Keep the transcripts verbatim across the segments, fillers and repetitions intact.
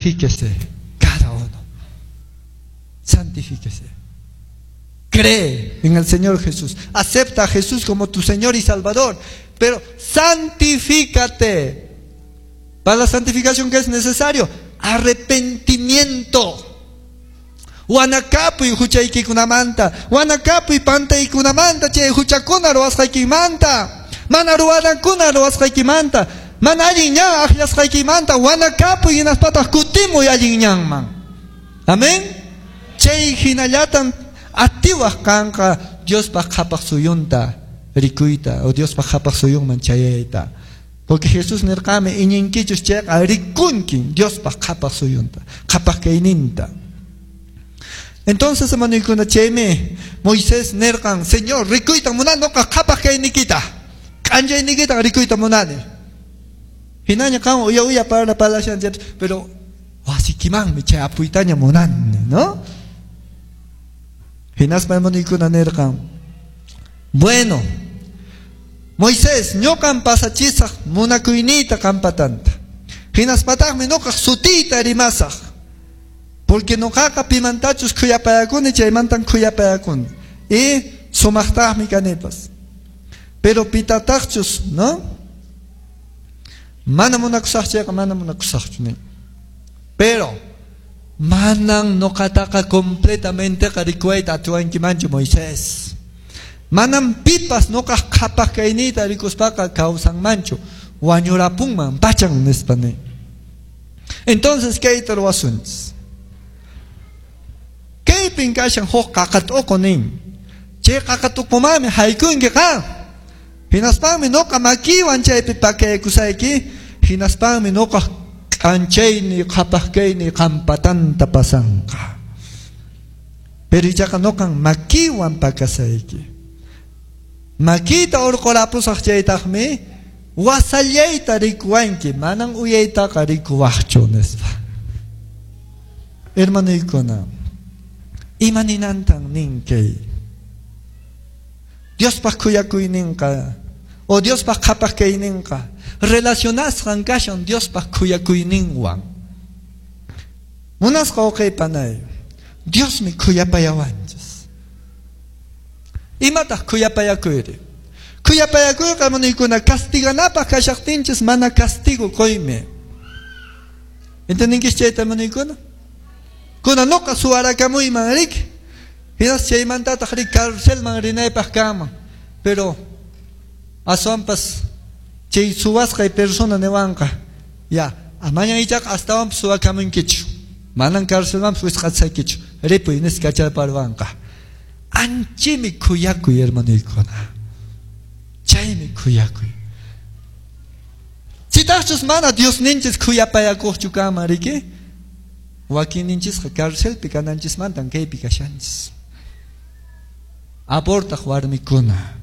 Santifíquese cada uno. Santifíquese. Cree en el Señor Jesús. Acepta a Jesús como tu Señor y Salvador. Pero santifícate. Para la santificación, ¿qué es necesario? Arrepentimiento. Wanakapuy huchaykikunamanta, wanakapuy pantaykunamanta, chay huchakuna ruwasqaykimanta, mana ruwanakuna ruwasqaykimanta, mana allin ñan akllasqaykimanta, wanakapuy hinaspataq kutimuy allin ñanman. Amén. Chay hinallatan atiwaq kanqa Diospaq qhapaq suyunta rikuyta o Diospaq qhapaq suyunman chayayta. Porque Jesús nirqami iñinkichus chayqa rikunkin Diospaq qhapaq suyunta, qhapaq kayninta. Entonces, hermano, chaymi Moisés nirqan, Señor, rikuyta munani noqa qhapaq kaynikita, k'anchaynikita rikuyta munani. Hinaña qan uya uya para parlashan, pero wasikimanmi chay apuytaña munani, ¿no? Hinaspa hermano nirqan, bueno, Moisés, ñuqan pasachisaq munakuyniyta qampatanta. Hinaspataqmi ñuqaq sutiyta rimasaq. Porque ñuqaqa pimantachus khuyapayakuni chaymantan khuyapayakuni. Y sumaqtaqmi kanipas. Pero pitataqchus, ¿no? Mana munakusaq chayqa mana munakusaqchu nin. Pero manan ñuqataqa completamente rikuwayta atiwankimanchu Moisés. Manam pipas ñuqaq qhapaq kayniyta rikuspaqa kawsanmanchu. Wañurapunman pachan nispa nin. Entonces kayta ruwasunchis. Kaypin kashan huk qaqat'uqu nin. Chay qaqat'uqumanmi haykunki qan. Hinaspanmi ñuqa makiwan chaypi pakaykusayki. Hinaspanmi ñuqa k'anchayni qhapaq kayni qampatanta pasanqa. Pero ichaqa ñuqan makiwan pakasayki. Makita urqurapusaq chaytaqmi wasallayta rikuwanki, manan uyaytaqa rikuwaqchu nispa. Hermanoykuna, ima ninantan nin kay? Diospaq khuyakuyninqa o Diospaq qhapaq kayninqa relacionasqan kashan Diospaq khuyakuyninwan. Munasqa wawqiypanay, Diosmi khuyapayawanchis. Imataq khuyapayakuyri? Khuyapayakuyqa hermanoykuna castiganapaq kashaqtinchis mana castigo quymi. ¿Entendinkichis chayta hermanoykuna? Kuna ñuqa suwarakamuyman riki. Hinas chaymantataq rik carcelman rinaypaq kanman. Pero aswanpas chay suwasqay persona niwanqa, ya, amaña ichaqa astawanpas suwakamunkichu. Manan carcelmanpas wisq'asaykichu. Ripuy nispa kacharparwanqa. Anchimi khuyakuy hermanoykuna. Chaymi khuyakuy. Chitaqchus mana Diosninchis khuyapayakuqchu kanman riki? Wakinninchisqa carcelpi kananchismantan kaypi kashanchis. Abortaq warmikuna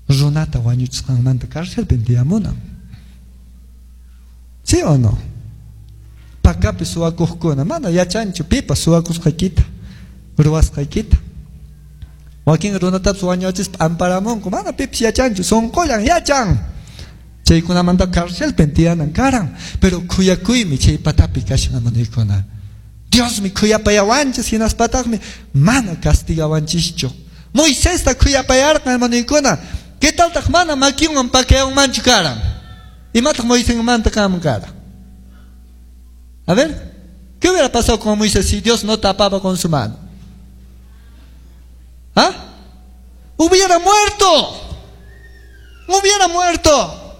runata wañuchisqanmanta carcelpi tiyamunan. ¿Sí o no? Pakapi suwakuqkuna mana yachanchu pipas suwakusqaykita, ruwasqaykita. Wakin runatapas wañuchispa amparamunku, mana pipas yachanchu, sunqullan yachan. Chaykunamanta carcelpi tiyanan karan, pero khuyakuymi chay patapi kashan hermanoykuna. Diosmi khuyapayawanchis hinaspataqmi mana castigawanchischu. Moisesta khuyapayarqan hermanoykuna, ¿qué taltaq mana makinwan pakayanmanchu karan? Imataq Moisesmanta kanman karan? A ver, ¿qué hubiera pasado con Moisés si Dios no tapaba con su mano? ¿Ah? Hubiera muerto. Hubiera muerto.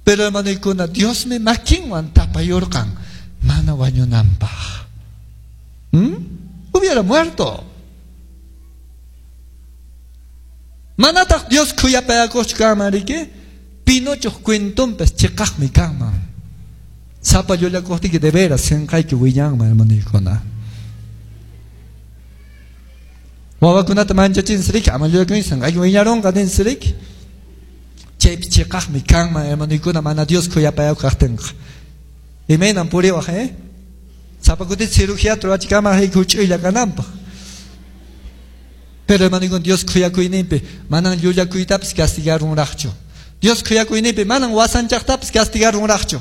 Pero hermanoykuna, Diosmi makinwan tapayurqan mana wañunanpaq. ¿Mm? Hubiera muerto. Manataq Dios khuyapayakuqchu kanman riki? Pinochoq cuentonpas chiqaqmi kanman. Sapa llullakuqtiyki de veras sinqayki wiñanman hermanoykuna. Wawakunata manchachinsi riki, ama llullakuynin sinqayki wiñarunqa ninsi riki. Chaypi chiqaqmi kanman hermanoykuna mana Dios khuyapayakuq kaqtinqa. Imaynan puriwaq, eh? Sapa kuti cirugía ruwachikaman huch'uylla kananpaq. Pero hermanoykuna Dios khuyakuyninpi manan llullakuytapas castigarunraqchu. Dios khuyakuyninpi manan wasanchaqtapas castigarunraqchu.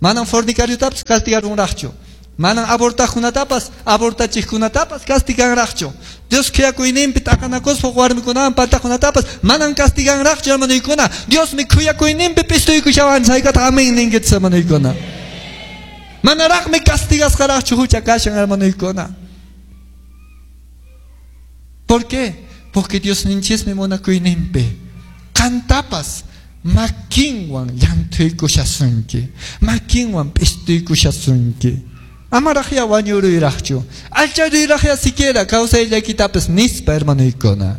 Manam fornicariotapas castigarunraqchu. Manam abortaqkunatapas, abortachiqkunatapas castiganraqchu. Dios khuyakuyninpi t'aqanakuspa warmikunawan pantaqkunatapas manam castiganraqchu, hermanoykuna. Diosmi khuyakuyninpi p'istuykushawanchis, hayk'ataq amén ninkichis, hermanoykuna. Manaraqmi castigasqaraqchu hucha kashan, hermanoykuna. ¿Por qué? Porque Diosninchismi munakuyninpi qantapas makinwan llanthuykushasunki, makinwan p'istuykushasunki. Amaraqya wañuruyraqchu, alcharuyraqya siquiera kawsayllaykitapas nispa, hermanoykuna.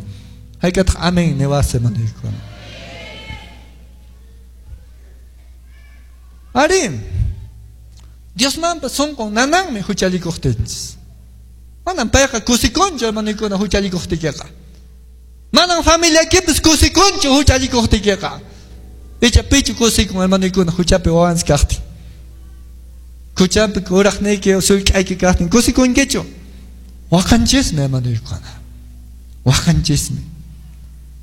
Hayk'ataq amén niwas, hermanoykuna. Arí, Diosmanpas sunqun nananmi huchallikuqtinchis. Manam payqa kusikunchu, hermanoykuna, huchallikuqtiykiqa. Manam familiaykipis kusikunchu huchallikuqtiykiqa. Icha pichu kusikun, hermanoykuna, huchapi wawanchis kaqtin. Huchapi kuraqniyki sullk'ayki kaqtin kusikunkichu. Waqanchismi, hermanoykuna. Waqanchismi.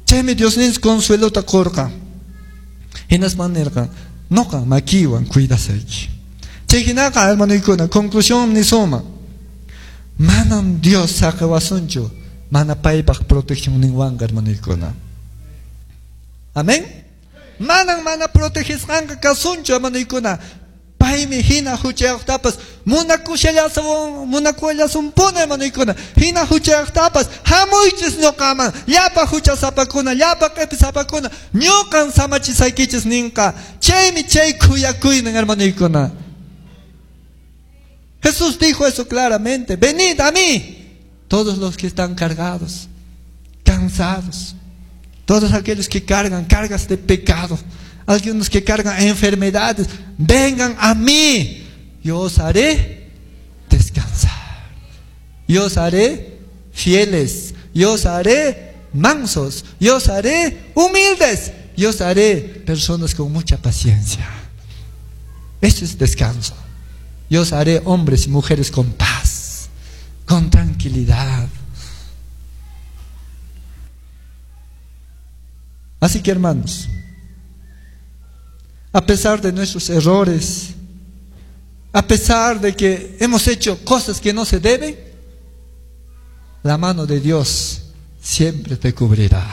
Chaymi Diosninchis consuelota qurqan. Hinaspan nirqan, noqa makiwan cuidasayki. Chay hinaqa, hermanoykuna, conclusión nisuma. Manam Dios saqiwasunchu mana paypaq proteccionninwanqa, hermanoykuna. Amén. Manam mana protegisqanqa kasunchu, hermanoykuna. Paymi hina huchayuqtapas munakushallasun, munakullasunpuni, hermanoykuna. Hina huchayuqtapas hamuychis ñuqaman, llapa huchasapakuna, llapa q'ipisapakuna, ñuqan samachisaykichis ninqa. Chaymi chay khuyakuynin, hermanoykuna. Jesús dijo eso claramente: venid a mí, todos los que están cargados, cansados, todos aquellos que cargan cargas de pecado, algunos que cargan enfermedades, vengan a mí, yo os haré descansar, yo os haré fieles, yo os haré mansos, yo os haré humildes, yo os haré personas con mucha paciencia. Eso es descanso. Yo os haré hombres y mujeres con paz, con tranquilidad. Así que, hermanos, a pesar de nuestros errores, a pesar de que hemos hecho cosas que no se deben, la mano de Dios siempre te cubrirá.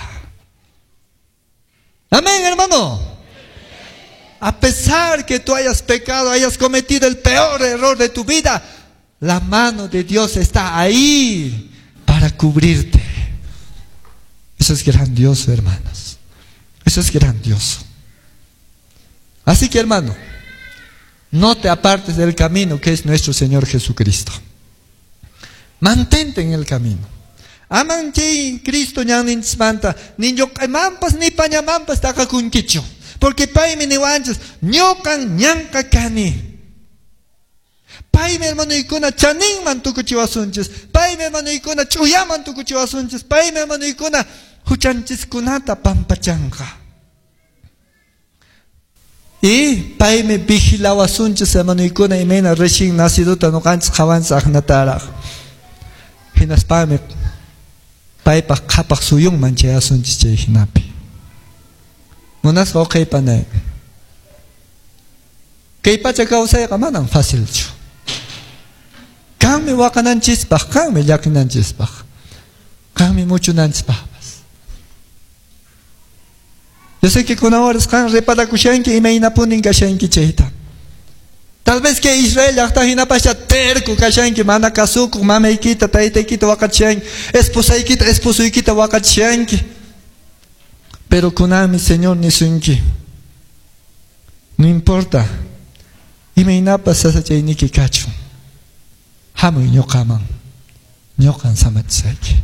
Amén, hermano. A pesar que tú hayas pecado, hayas cometido el peor error de tu vida, la mano de Dios está ahí para cubrirte. Eso es grandioso, hermanos. Eso es grandioso. Así que, hermano, no te apartes del camino que es nuestro Señor Jesucristo. Mantente en el camino. Aman chay Cristo ñanninchismanta, ni lluq'aymanpas ni pañamanpas taqakunkichu. Porque paymi niwanchis, ñuqan ñanqa kani. Paymi, hermanoykuna, chaninman tukuchiwasunchis. Paymi, hermanoykuna, ch'uyaman tukuchiwasunchis. Paymi, hermanoykuna, huchanchiskunata pampachanqa. Y paymi vigilawasunchis, hermanoykuna, imayna recién nacidota ñuqanchis qhawanchis aqnataraq. Hinaspami paypaq qhapaq suyunman chayasunchis chay hinapi. Munasqa uqaypanay. Kay pacha kawsayqa manam facilchu. Kanmi waqananchispaq, kanmi llakinanchispaq, kanmi muchunanchispaqpas. Yo sé que kunan horas qan reparakushanki imaynapunin kashanki chayta. Tal vez que Israel llaqta hinapascha terco kashanki, mana kasukuq, mamaykita, taytaykita waqachishanki, esposaykita, esposuykita waqachishanki. Pero kunanmi Señor nisunki, no importa imaynapas sasachayniki kachun, hamuy ñuqaman, ñuqan samachisayki.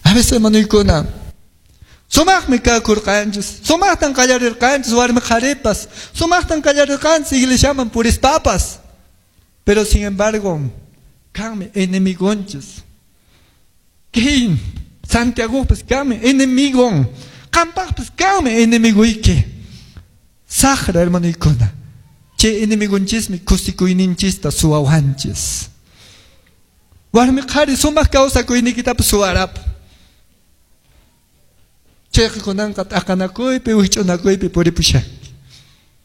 A veces, hermanoykuna, sumaqmi kakurqanchis, sumaqtan qallarirqanchis warmi qharipas, sumaqtan qallarirqanchis iglesiaman purispapas. Pero sin embargo, kanmi enemigonchis. Kay Santiagopas kanmi enemigon, qampaqpas kanmi enemigoyki. Saqra, hermanoykuna, chay enemigonchismi kusikuyninchista suwawanchis. Warmi qhari sumaq kawsakuyniykitapas suwarapun. Chayqa kunanqa t'aqanakuypi, wikch'unakuypi puripushan.